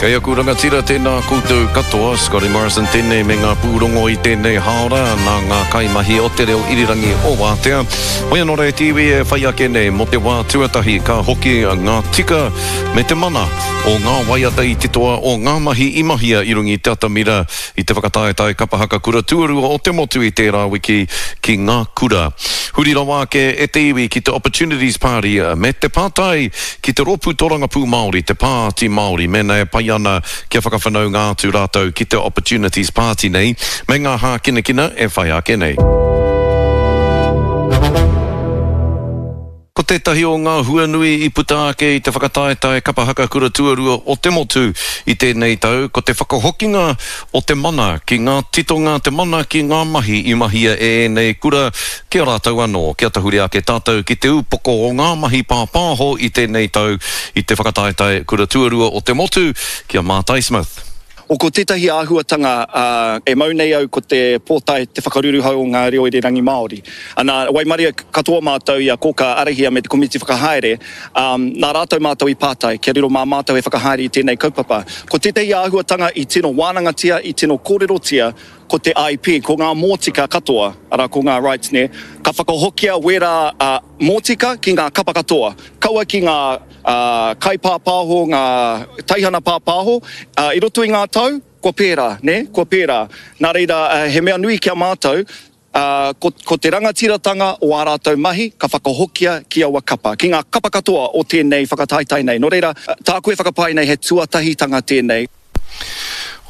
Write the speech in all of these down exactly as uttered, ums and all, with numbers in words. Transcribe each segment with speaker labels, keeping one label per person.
Speaker 1: Kei aku rangatira tēnā koutou katoa, Scotty Morrison tēnei me ngā pūrongo i tēnei hāora nā ngā kaimahi o te reo irirangi o Wātea. Hoi anō rā e te iwi e whai ake nei mō te wā tuatahi ka hoki ngā tika me te mana o ngā waiata i titoa o ngā mahi i mahia i runga i te atamira i te whakataetae kapa haka kura tuarua o te motu i tērā wiki ki ngā kura. Huri rawa ake e te iwi ki te Opportunities Party me te pātai ki te Rōpū Torangapū Māori, te Pāti Māori, mēnā e pai ana kia whakawhanaunga atu rātou ki te Opportunities Party nei, me ngā hākinakina e whai ake nei. Ko tētahi o ngā hua nui i puta ake i te whakataetae kapa haka kura tuarua o te motu i tēnei tau, ko te whakahokinga o te mana ki ngā titonga, te mana ki ngā mahi i mahia e ēnei kura ki a rātou anō. Kia tahuri ake tātou ki te upoko o ngā mahi pāpāho i tēnei tau i te whakataetae kura tuarua o te motu, ki a Mātai Smith.
Speaker 2: O ko tētahi āhuatanga e mau nei au ko te pōtae te whakaruruhau o ngā reo irirangi Māori. Ana, waimaria katoa mātou i a Kōkā Arahia me te komiti whakahaere, ā, nā rātou mātou i pātai kia riro mā mātou e whakahaere i tēnei kaupapa. Ko tētahi āhuatanga i tino wānangatia, i tino kōrerotia, ko te I P, ko ngā mōtika katoa, arā ko ngā rights nē, ka whakahokia wērā mōtika ki ngā kapa katoa, kaua ki ngā kaipāpāho, ngā teihana pāpāho, i roto i ngā tau, kua pērā, nē, kua pērā. Nā reira, he mea nui ki a mātou, ko, ko te rangatiratanga o ā rātou mahi ka whakahokia ki aua kapa, ki ngā kapa katoa o tēnei whakataetae nei. Nō reira, tāku e whakapae nei he tuatahitanga tēnei.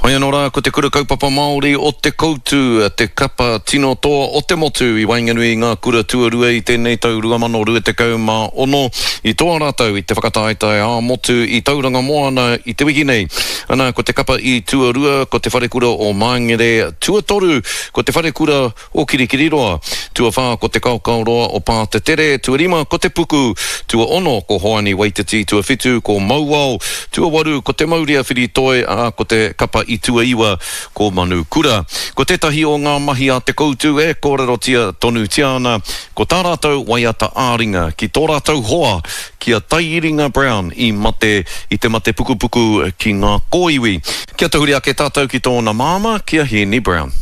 Speaker 1: Hoi anō rā, ko te Kura Kaupapa Māori o Te Koutu te kapa tino toa o te motu i waenganui i ngā kura tuarua i tēnei tau rua mano rua tekau mā ono. I toa rātou i te whakataetae ā-motu i Tauranga Moana i te wiki nei. Ana, ko te kapa i tuarua, ko te Wharekura o Māngere, tuatoru, ko te Wharekura o Kirikiriroa. Tuawhā ko te Kaokaoroa o Pātetere, tuarima ko Te Puku, tuaono ko Hoani Waititi, tuawhitu ko Mauao, tuawaru ko Te Maurea Whiritoi, ā, ko te kapa i tuaiwa ko Manukura. Ko tētahi o ngā mahi a Te Koutu e kōrerotia tonutia ana, ko tā rātou waiata ā-ringa ki tō rātou hoa ki a Taiiringa Brown i mate i te mate pukupuku ki ngā kōiwi. Kia tahuri ake tātou ki tōna māmā, ki a Hēni Brown.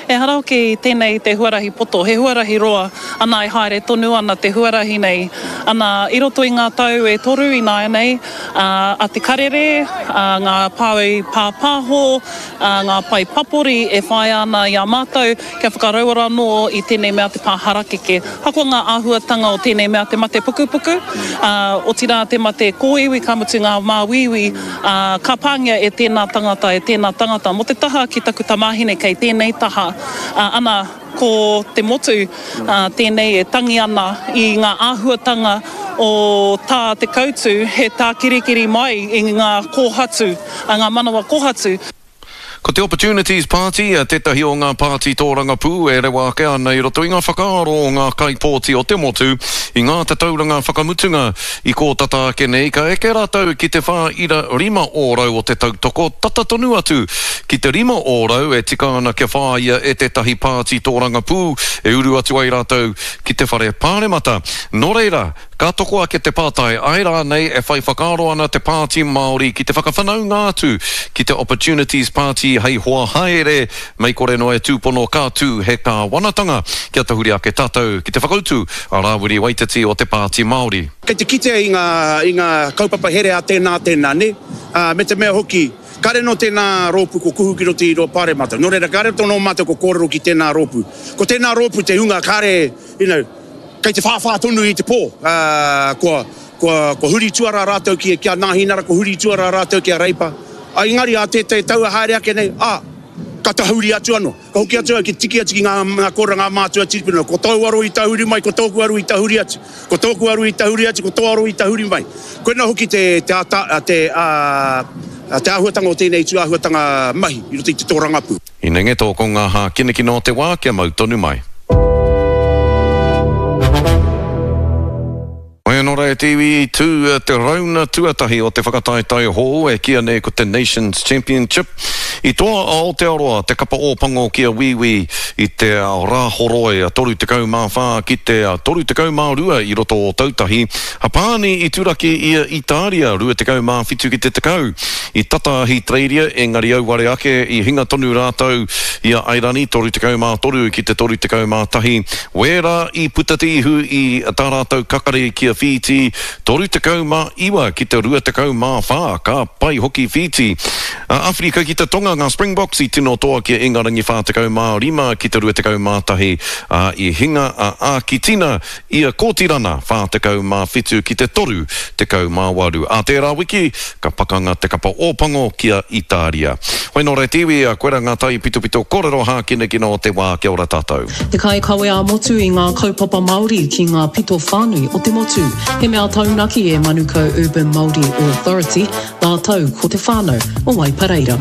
Speaker 3: Ehara hoki tēnei te huarahi poto, he huarahi roa, ana e haere tonu ana te huarahi nei. Ana, i roto i ngā tau e toru ināianei, a Te Karere, a ngā pae pāpāho, a ngā pae papori e whāia ana i a mātou kia whakarauora anō i tēnei mea te pā harakeke. Ahakoa ngā āhuatanga o tēnei mea te mate pukupuku, ā, otirā te mate kōiwi, ka mutu ngā māuiui, ā, ka pāngia e tēnā tangata, e tēnā tangata. Mō te taha ki taku tamāhine kei tēnei taha, ā, ana, ko te motu, ā, tēnei e tangi ana i ngā āhuatanga o tā Te Koutu he tākirikiri mai i ngā kōhatu, ā, ngā manawa kōhatu.
Speaker 1: Ko te Opportunities Party tētahi o ngā pāti tōrangapū e rewa ake ana i roto i ngā whakaaro o ngā kaipōti o te motu i ngā tatauranga whakamutunga i kō tata ake nei, ka eke rātou ki te whā ira rima ōrau o te tautoko, tata tonu atu ki te rima ōrau e tika ana kia whāia e tētahi pāti tōrangapū e uru atu ai rātou ki te whare pāremata. Nō reira, ka toko ake te pātai, āe rānei e whai whakaaro ana te Pāti Māori ki te whakawhanaunga atu ki te Opportunities Party hei hoa haere, mei kore noa e tūpono ka tū he kāwanatanga? Kia tahuri ake tātou ki te whakautu a Rāwiri Waititi o te Pāti Māori.
Speaker 4: Kei te kitea i ngā, i ngā kaupapa here a tēnā, tēnā, nē? Ā, me te mea hoki, kāre nō tēnā rōpū ko kuhu ki roto i rō pāremata. Nō reira, kāre tō nō mātou ko kōrero ki tēnā rōpū. Ko tēnā rōpū te hunga kāre, you know, kei te whāwhā tonu i te pō. Ā, kua, kua, kua huri tuarā rātou ki, ki a Nāhinara, kua huri tuarā rātou ki a Reipa. Ā, engari ā tētahi tau e haere ake nei, ā, ka tahuri atu anō. Ka hoki atu au ki tiki atu ki ngā, ngā kōrero ngā mātua tīpuna. Ko tōu aro i tahuri mai, ko tōku aro i tahuri atu. Ko tōku aro i tahuri atu, ko tō aro i tahuri mai. Koinā hoki te, te, ata, te, ā, te āhuatanga o tēnei tūāhuatanga mahi i roto i te tōrangapū.
Speaker 1: Inenge tō ko ngā hākinakina o te wā kia mau tonu mai. Hoi anō rā e te iwi, i tū te rauna tuatahi o te whakataetae hou e kīia nei ko te Nations Championship. I toa a Aotearoa te kapa Ōpango ki a Wīwī i te Rāhoroi toru tekau mā whā ki te toru tekau mā rua i roto o Ōtautahi. Hapāni i turaki i a Itāria rua tekau mā whitu ki te tekau. I tata a Ahitereiria, engari auare ake, i hinga tonu rātou i a Airani, toru tekau mā toru ki te toru tekau mā tahi. Wērā i puta te ihu i tā rātou kakari ki a Whītī, toru tekau mā iwa ki te rua tekau mā whā, ka pai hoki Whītī. A Awherika ki te Tonga, ngā Springboks i tino toa ki a Ingarangi whā tekau mā rima ki te rua tekau mā tahi, ā, i hinga a Ākitina i a Kōtirana whā tekau mā whitu ki te toru tekau mā waru. Ā tērā wiki, ka pakanga te kapa Ōpango ki a Itāria. Hoi nō reira te iwi, koira ngā taipitopito kōrero hākinakina o te wā, kia ora tātou.
Speaker 5: Te kaikawe ā-motu i ngā kaupapa Māori ki ngā pito whānui o te motu. He mea taunaki e Manukau Urban Māori Authority, rātou ko te whānau o Waipareira.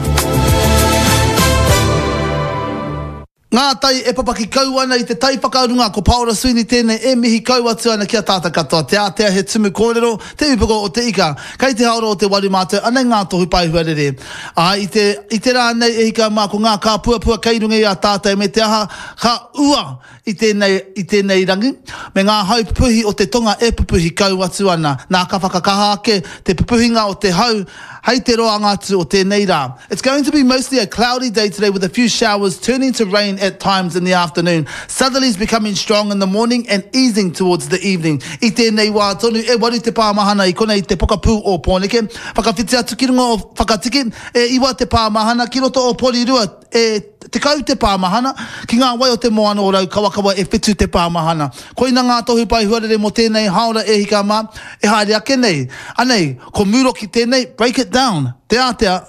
Speaker 6: Ngā tai e papaki kau ana i te tai whakarunga, ko Paora Sweeney tēnei e mihi kau atu ana ki a tātou katoa. Te ātea he tumu kōrero, te upoko o te ika. Kei te haora o te waru mātou, anei ngā tohu paehuarere. Ā, i te, i te rā nei e hika mā, ko ngā kāpuapua kei runga i a tātou me te aha, ka ua i tēnei, i tēnei rangi, me ngā hau pupuhi o te tonga e pupuhi kau atu ana. Nā, ka whakakaha ake te pupuhinga o te hau hei te roanga atu o tēnei rā. It's going to be mostly a cloudy day today with a few showers turning to rain at times in the afternoon. Southerlies becoming strong in the morning and easing towards the evening. I tēnei wā tonu, e waru te pāmahana i konei i te pokapū o Pōneke. Whakawhiti atu ki runga o Whakatiki, e iwa te pāmahana ki roto o Porirua, e tekau te pāmahana, ki ngā wai o te moana o Raukawakawa e whitu te pāmahana. Koina ngā tohu pae huarere mō tēnei haora e hika mā, e haere ake nei. Anei, ko Mūroki tēnei, break it down, te ātea,